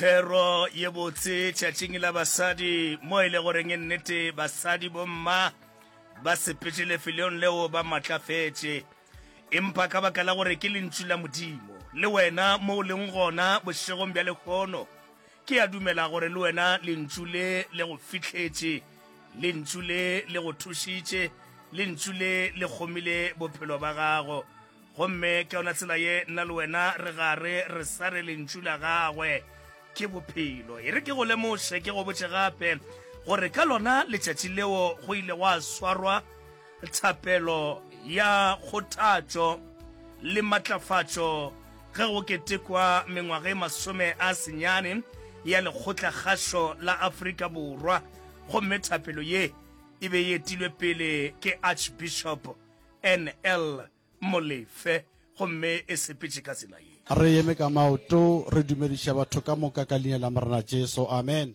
Thero ye botse tšatšing la basadi mo e le goreng e nnete basadi bomma ba sepetše lefelong leo ba matlafetše empa ka baka la gore ke lentšu la Modimo le wena mo o leng gona bošegong bja lehono ke a dumela gore le wena lentšu le le go fihletše lentšu le le go thušitše lentšu le le kgomile bophelo ba gago Gomme ka yona tsela ye nna le wena re gare re sa re lentšu la gagwe ke bophelo. E re ke go lemoše, ke go botše gape gore ka lona letšatši leo go ile gwa swarwa thapelo ya kgothatšo le matlafatšo ge go ketekwa mengwaga e 90 ya Lekgotlakgašo la Afrika Borwa, gomme thapelo ye e be e etilwe pele ke Archbishop NL Molefe gomme e sepetše ka tsela ye. Re eme ka maoto, re dumediša batho ka moka ka Leina la Morena Jesu. Amen.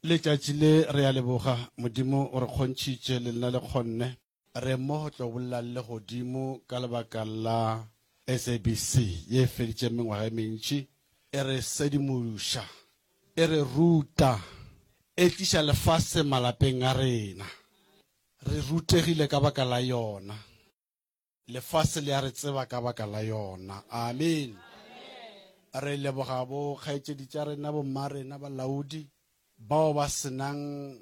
Letšatši le, re a leboga. Modimo o re kgontšhitše, le lena le kgonne. Re mo go tlo bolela le godimo ka lebaka la SABC ye e feditšeng mengwaga e mentši e re sedimoša, e re ruta, e tliša lefase malapeng a rena. Re rutegile ka baka la yona. Lefase le a re tseba ka baka la yona. Amen. Re leboga bo kgaetšedi tša rena, bo mma rena, balaodi, bao ba senang.